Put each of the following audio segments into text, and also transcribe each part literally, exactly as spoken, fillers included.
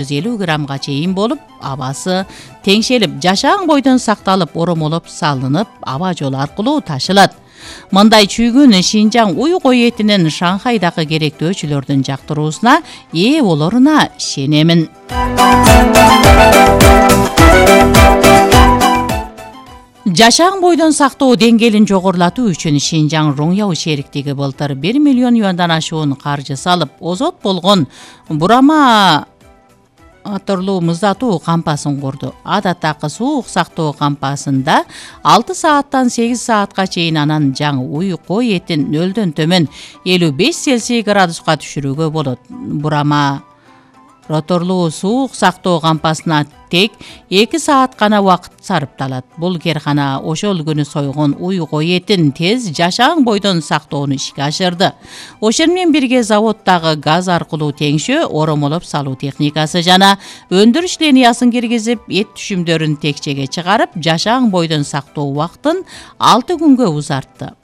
жүз элүү граммга чейин болуп, абасы теңшелип, жашаң бойдон сакталып, оромолоп салынып, аба жолу аркылуу ташылат. Мындай чүйгүн Шинжаң уй кой этинин Шанхайдагы керектөөчүлөрдүн жактыруусуна ээ болоруна ишенемин. Жашаң бойдон сактоо деңгээлин жогорулатуу үчүн Шинжаң Роңяу шериктиги былтыр бир миллион юандан ашуун каржы салып, озот болгон бурама атырлуу муздатуу кампасын курду. Адаттагы суук сактоо кампасында алты сааттан сегиз саатка чейин анан жаңы уй кой этин нөлдөн төмөн элүү беш Цельсий градуска түшүрүүгө болот. Бурама роторлуу суук сактоо кампасына тек эки саат гана убакыт сарпталат. Бул керкана ошол күнү сойгон уй кой этин тез жашаң бойдон сактоону ишке ашырды. Ошол менен бирге заводдагы газ аркылуу теңшөө, оромолоп салуу техникасы жана өндүрүш линиясын киргизип, эт түшүмдөрүн текчеге чыгарып, жашаң бойдон сактоо убактын алты күнгө узартты.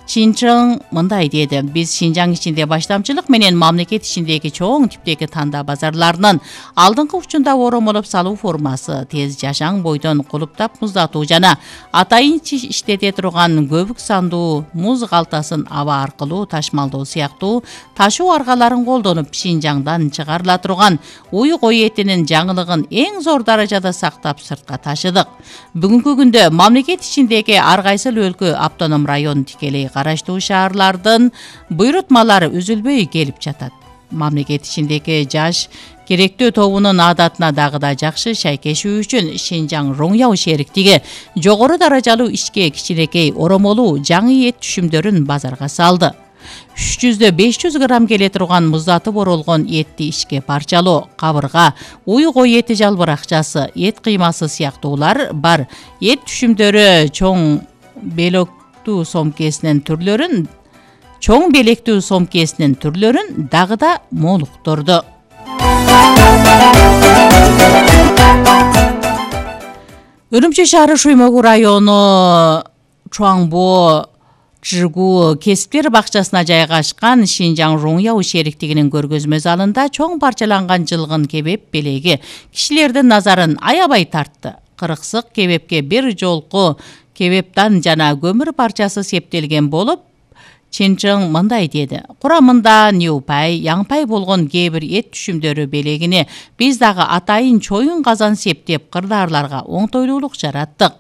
Шинжаң мындай деди: биз Шинжаң ичинде баштамчылык менен мамлекет ичиндеги чоң типтеги танда базарларынын алдыңкы учунда оромолоп салуу формасы, тез жашаң бойдон кулуптап муздатуу жана атайын иштете турган көбүк сандуу муз калтасын аба аркылуу ташмалдоо сыяктуу ташуу аргаларын колдонуп, Шинжаңдан чыгарыла турган уй кой этинин жаңылыгын эң зор даражада сактап сыртка ташыдык. Бүгүнкү күндө мамлекет ичиндеги ар кайсыл өлкө, автоном район, тикелей караштуу шаарлардын буйрутмалары үзүлбөй келип жатат. Мамлекет ичиндеги жаш керектөө тобунун адатына дагы да жакшы шайкешүү үчүн Шинжаң Роңяу шериктиги жогору даражалуу ишке кичинекей оромолуу жаңы эт түшүмдөрүн базарга салды. үч жүздөн беш жүз грамм келе турган муздатып оролгон этти ишке парчалоо, кабырга, уй кой эти жалбыракчасы, эт кыймасы сыяктуулар бар. Эт түшүмдөрү чоң белок сомкесинин түрлөрүн, чоң белектүү сомкесинин түрлөрүн дагы да молуктурду. Үрүмчү шаары Шуймогу району Чуаңбо Жигу кесиптер бакчасына жайгашкан Шинжаң Роңяу шериктигинин көргөзмө залында чоң парчаланган жылгын кебеп белеги кишилердин назарын аябай тартты. Кырыксык кебепке бир жолку кебептан жана көмүр парчасы септелген болуп, Шинжаң мындай деди: курамында ньюпай, яңпай болгон кээ бир эт түшүмдөрү белегине биз дагы атайын чоюн казан септеп, кырдаарларга оңтойлуулук жараттык.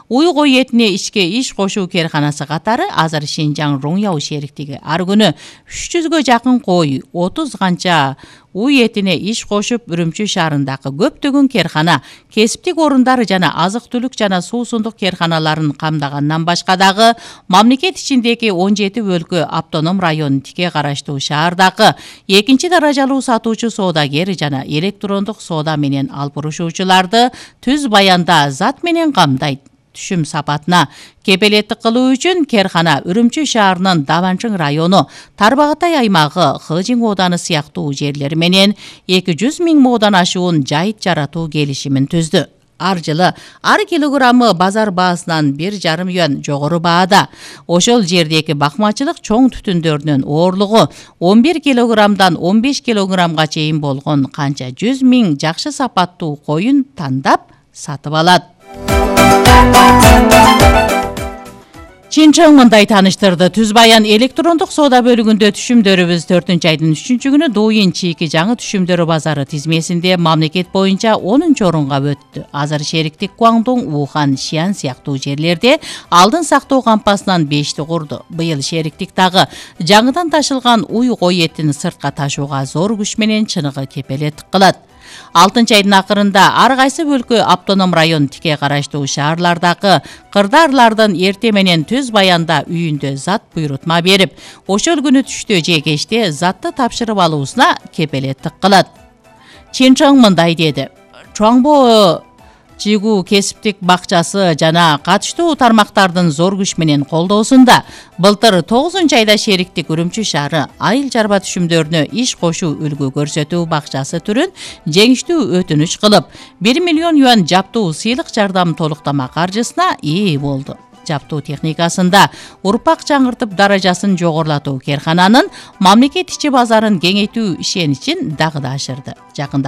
Уй кой этине ишке иш кошуу керканасы катары азыр Шинжаң Роңяу шериктиги ар күнү үч жүзгө жакын кой, отуз канча уй этине иш кошуп, Үрүмчү шаарындагы көптөгөн керкана, кесиптик орундары жана азык-түлүк жана суусундук керканаларын камдагандан башка дагы мамлекет ичиндеги он жети өлкө, автоном район, тике караштуу шаардагы экинчи даражалуу сатуучу соодагер жана электрондук соода менен албырушуучуларды түз баянда зат менен камдайт. Түшүм сапатына кепелеттик кылуу үчүн керкана Үрүмчү шаарынын Даванчың району, Тарбағатай аймагы, Хыжың ооданы сыяктуу жерлери менен эки жүз миң моодан ашуун жайыт жаратуу келишимин түздү. Ар жылы ар килограммы базар баасынан бир жарым юан жогору баада. Ошол жердеги бакмачылык чоң түтүндөрүнүн оорлугу он бир килограммдан он беш килограммга чейин болгон канча жүз миң жакшы сапаттуу коюн тандап сатып алат. Шинжаң мындай тааныштырды: түз баян электрондук соода бөлүгүндө түшүмдөрүбүз төртүнчү айдын үчүнчү күнү Дойин чийки жаңы түшүмдөрү базары тизмесинде мамлекет боюнча онунчу орунга өттү. Азыр шериктик Гуаңдоң, Ухан, Шиан сыяктуу жерлерде алдын сактоо кампасынан бешти курду. Быйыл шериктик дагы жаңыдан ташылган уй кой этин сыртка ташууга зор күч менен чыныгы кепелеттик кылат. алтынчы айдын акырында ар кайсы өлкө, автоном район, тике караштуу шаарлардагы кырдаарлардын эрте менен түз баянда үйүндө зат буйрутма берип, ошол күнү түштө же кечте затты тапшырып алуусуна кепелеттик кылат. Шинжаң мындай деди: Чуаңбо Жигу кесиптик бакчасы жана катыштуу тармактардын зор күч менен колдоосунда былтыр тогузунчу айда шериктик Үрүмчү шаары айыл чарба түшүмдөрүнө иш кошуу үлгү көрсөтүү бакчасы түрүн жеңиштүү өтүнүч кылып, бир миллион юан жаптуу сыйлык жардам толуктама каржысына ээ болду. жаптоо техникасында урпак жаңыртып даражасын жогорулатуу керкананын мамлекет ичи базарын кеңейтүү ишеничин дагы да ашырды. Жакында